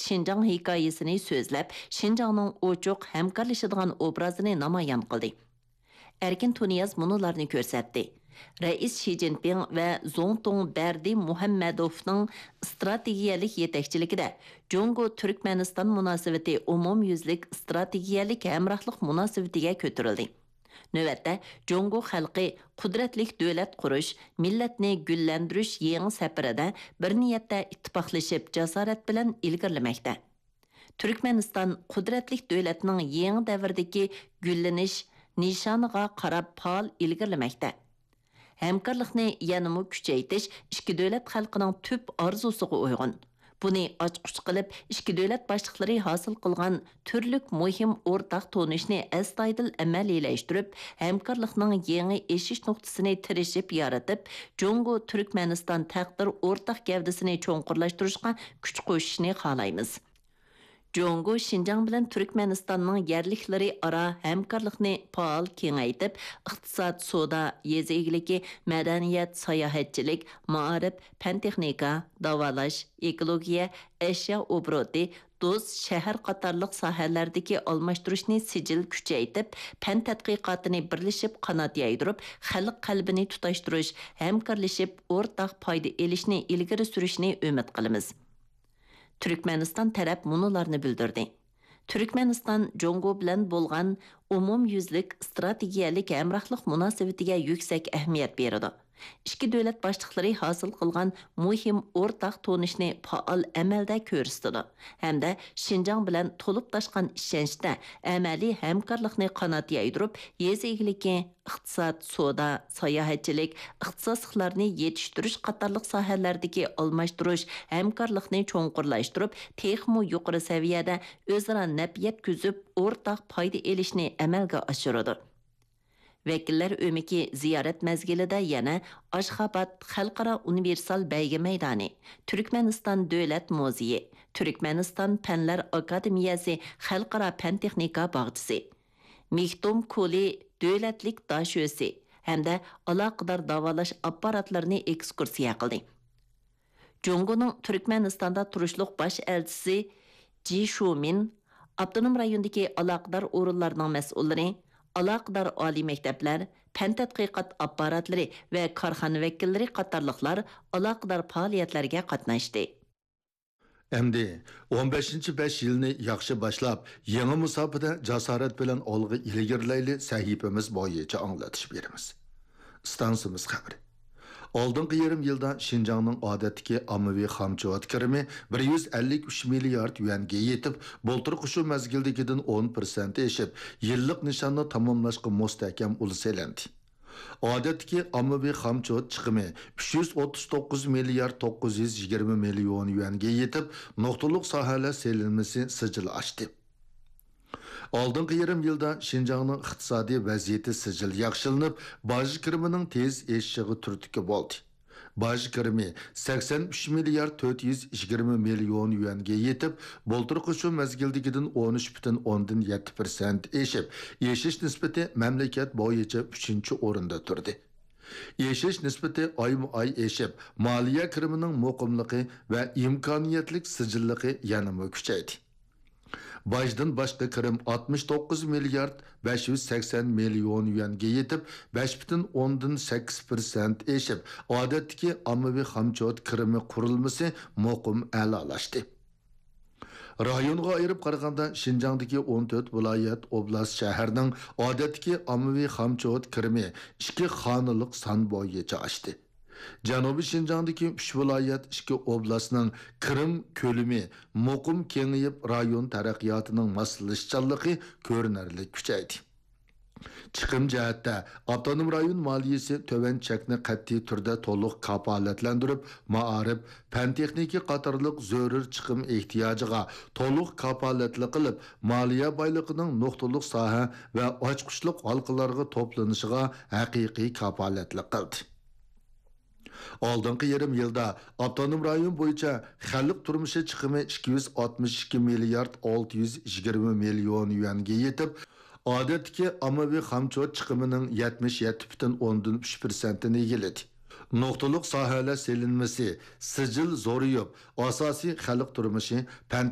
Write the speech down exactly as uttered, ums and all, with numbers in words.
شىنجاڭ ھېكايىسىنى سۆزلەپ، شىنجاڭنىڭ ئوچۇق، ھەمكارلىشىدىغان ئوبرازىنى نامايان قىلدى. ئەركىن تۇنىياز مۇنۇلارنى كۆرسەتتى. رەئىس شى جىنپىڭ ۋە زۇڭتۇڭ بەردى مۇھەممەدوۋنىڭ ئىستراتېگىيەلىك يېتەكچىلىكىدە جۇڭگو تۈركمەنىستان مۇناسىۋىتى ئومۇميۈزلۈك ئىستراتېگىيەلىك ھەمراھلىق مۇناسىۋىتىگە كۆتۈرۈلدى. نۆۋەتتە، جۇڭگو خەلقى قۇدرەتلىك دۆلەت قۇرۇش، مىللەتنى گۈللەندۈرۈش يېڭى سەپىرىدە بىر نىيەتتە ئىتتىپاقلىشىپ، جاسارەت بىلەن ئىلگىرىلىمەكتە. تۈركمەنىستان قۇدرەتلىك دۆلەتنىڭ يېڭى دەۋردىكى گۈللىنىش نىشانىغا قاراپ پائال ئىلگىرىلىمەكتە. ھەمكارلىقنى يەنىمۇ كۈچەيتىش ئىككى دۆلەت خەلقىنىڭ تۈپ ئارزۇسىغا ئۇيغۇن. بۇنى ئاچقۇچ قىلىپ، ئىككى دۆلەت باشلىقلىرى ھاسىل قىلغان تۈرلۈك مۇھىم ئورتاق تونۇشنى ئەستايىدىل ئەمەلىيلەشتۈرۈپ، ھەمكارلىقنىڭ يېڭى ئېشىش نۇقتىسىنى تىرىشىپ يارىتىپ، جۇڭگو تۈركمەنىستان تەقدىر ئورتاق گەۋدىسىنى چوڭقۇرلاشتۇرۇشقا كۈچ قوشۇشنى خالايمىز. جۇڭگو شىنجاڭ بىلەن تۈركمەنىستاننىڭ يەرلىكلىرى ئارا ھەمكارلىقنى پائال كېڭەيتىپ، ئىقتىساد، سودا، يېزا ئىگىلىكى، مەدەنىيەت، ساياھەتچىلىك، مائارىپ، پەن-تېخنىكا، داۋالاش، ئېكولوگىيە، ئەشيا ئوبوروتى، دۇز، شەھەر قاتارلىق ساھەلەردىكى ئالماشتۇرۇشنى سىجىل كۈچەيتىپ، پەن تەتقىقاتىنى بىرلىشىپ قانات يايدۇرۇپ، خەلق قەلبىنى تۇتاشتۇرۇش، ھەمكارلىشىپ ئورتاق پايدا ئېلىشنى ئىلگىرى سۈرۈشنى ئۈمىد قىلىمىز. تۈركمەنىستان تەرەپ مۇنۇلارنى بىلدۈردى: تۈركمەنىستان جۇڭگو بىلەن بولغان ئومۇميۈزلۈك ئىستراتېگىيەلىك ھەمراھلىق مۇناسىۋىتىگە يۈكسەك ئەھمىيەت بېرىدۇ. ئىككى دۆلەت باشلىقلىرى ھاسىل قىلغان مۇھىم ئورتاق تونۇشنى پائال ئەمەلدە كۆرسىتىدۇ ھەمدە شىنجاڭ بىلەن تولۇپ تاشقان ئىشەنچتە ئەمەلىي ھەمكارلىقنى قانات يايدۇرۇپ، يېزا ئىگىلىكى، ئىقتىساد، سودا، ساياھەتچىلىك، ئىختىساسلىقلارنى يېتىشتۈرۈش قاتارلىق ساھەلەردىكى ئالماشتۇرۇش ھەمكارلىقنى چوڭقۇرلاشتۇرۇپ، تېخىمۇ يۇقىرى سەۋىيەدە ئۆزئارا نەپ يەتكۈزۈپ، ئورتاق پايدا ئېلىشنى ئەمەلگە ئاشۇرىدۇ. ۋەكىللەر ئۆمىكى زىيارەت مەزگىلىدە يەنە ئاشخاباد خەلقئارا ئۇنىۋېرسال بەيگە مەيدانى، تۈركمەنىستان دۆلەت مۇزېيى، تۈركمەنىستان پەنلەر ئاكادېمىيەسى خەلقئارا پەن-تېخنىكا باغچىسى، مېكتوم كولى دۆلەتلىك داشۆسى ھەمدە ئالاقىدار داۋالاش ئاپپاراتلىرىنى ئېكسكۇرسىيە قىلدى. جۇڭگونىڭ تۈركمەنىستاندا تۇرۇشلۇق باش ئەلچىسى جى شۇمىن، ئاپتونوم رايوندىكى ئالاقىدار ئورۇنلارنىڭ مەسئۇللىرى، ئالاقىدار ئالىي مەكتەپلەر، پەن تەتقىقات ئاپپاراتلىرى ۋە كارخانا ۋەكىللىرى قاتارلىقلار ئالاقىدار پائالىيەتلەرگە قاتناشتى. ئەمدى ئون بەشىنچى بەش يىلنى ياخشى باشلاپ، يېڭى مۇساپىدە جاسارەت بىلەن ئالغا ئىلگىرىلەيلى سەھىپىمىز بويىچە ئاڭلىتىش بېرىمىز. ئىستانسىمىز خەۋىرى. ئالدىنقى يېرىم يىلدا شىنجاڭنىڭ ئادەتتىكى ئاممىۋى خامچوت كىرىمى بىر يۈز ئەللىك ئۈچ مىليارد يۈەنگە يېتىپ، بۇلتۇرقى شۇ مەزگىلدىكىدىن ئون پىرسەنت ئېشىپ، يىللىق نىشاننى تاماملاشقا مۇستەھكەم ئۇل سېلىندى. ئادەتتىكى ئاممىۋى خامچوت چىقىمى ئۈچ يۈز ئوتتۇز توققۇز مىليارد توققۇز يۈز يىگىرمە مىليون يۈەنگە يېتىپ، نۇقتىلىق ساھەلەر سېلىنمىسى سىجىل ئاشتى. ئالدىنقى يېرىم يىلدا شىنجاڭنىڭ ئىقتىسادىي ۋەزىيىتى سىجىل ياخشىلىنىپ، باج كىرىمىنىڭ تېز ئېشىشىغا تۈرتكە بولدى. باج كىرىمى سەكسەن ئۈچ مىليارد تۆت يۈز يىگىرمە مىليون يۈەنگە يېتىپ، بۇلتۇرقى شۇ مەزگىلدىكىدىن ئون ئۈچ پۈتۈن ئوندىن يەتتە پىرسەنت ئېشىپ، ئېشىش نىسبىتى مەملىكەت بويىچە ئۈچىنچى ئورۇندا تۇردى. ئېشىش نىسبىتى ئايمۇ ئاي ئېشىپ، مالىيە كىرىمىنىڭ مۇقىملىقى ۋە ئىمكانىيەتلىك سىجىللىقى يەنىمۇ كۈچەيدى. باجدىن باشقا كىرىم ئاتمىش توققۇز مىليارد بەش يۈز سەكسەن مىليون يۈەنگە يېتىپ، بەش پۈتۈن ئوندىن سەككىز پىرسەنت ئېشىپ، ئادەتتىكى ئاممىۋى خامچوت كىرىمى قۇرۇلمىسى مۇقىم ئەلالاشتى. رايونغا ئايرىپ قارىغاندا، شىنجاڭدىكى ئون تۆت ۋىلايەت، ئوبلاست، شەھەرنىڭ ئادەتتىكى ئاممىۋى خامچوت كىرىمى ئىككى خانىلىق سان بويىچە ئاشتى. جەنۇبىي شىنجاڭدىكى ئۈچ ۋىلايەت، ئىككى ئوبلاستنىڭ كىرىم كۆلىمى مۇقىم كېڭىيىپ، رايون تەرەققىياتىنىڭ ماسلىشىشچانلىقى كۆرۈنەرلىك كۈچەيدى. چىقىم جەھەتتە، ئاپتونوم رايون مالىيىسى تۆۋەن چەكنى قەتئىي تۈردە تولۇق كاپالەتلەندۈرۈپ، مائارىپ، پەن-تېخنىكا قاتارلىق زۆرۈر چىقىم ئېھتىياجىغا تولۇق كاپالەتلىك قىلىپ، مالىيە بايلىقىنىڭ نۇقتىلىق ساھە ۋە ئاچقۇچلۇق ھالقىلارغا توپلىنىشىغا ھەقىقىي كاپالەتلىك قىلدى. ئالدىنقى يېرىم يىلدا ئاپتونوم رايون بويىچە خەلق تۇرمۇشى چىقىمى ئىككى يۈز ئاتمىش ئىككى مىليارد ئالتە يۈز يىگىرمە مىليون يۈەنگە يېتىپ، ئادەتتىكى ئاممىۋى خامچوت چىقىمىنىڭ يەتمىش يەتتە پۈتۈن ئوندىن ئۈچ پىرسەنتىنى ئىگىلىدى. نۇقتىلىق ساھەلەر سېلىنمىسى سىجىل زورىيىپ، ئاساسىي خەلق تۇرمۇشى، پەن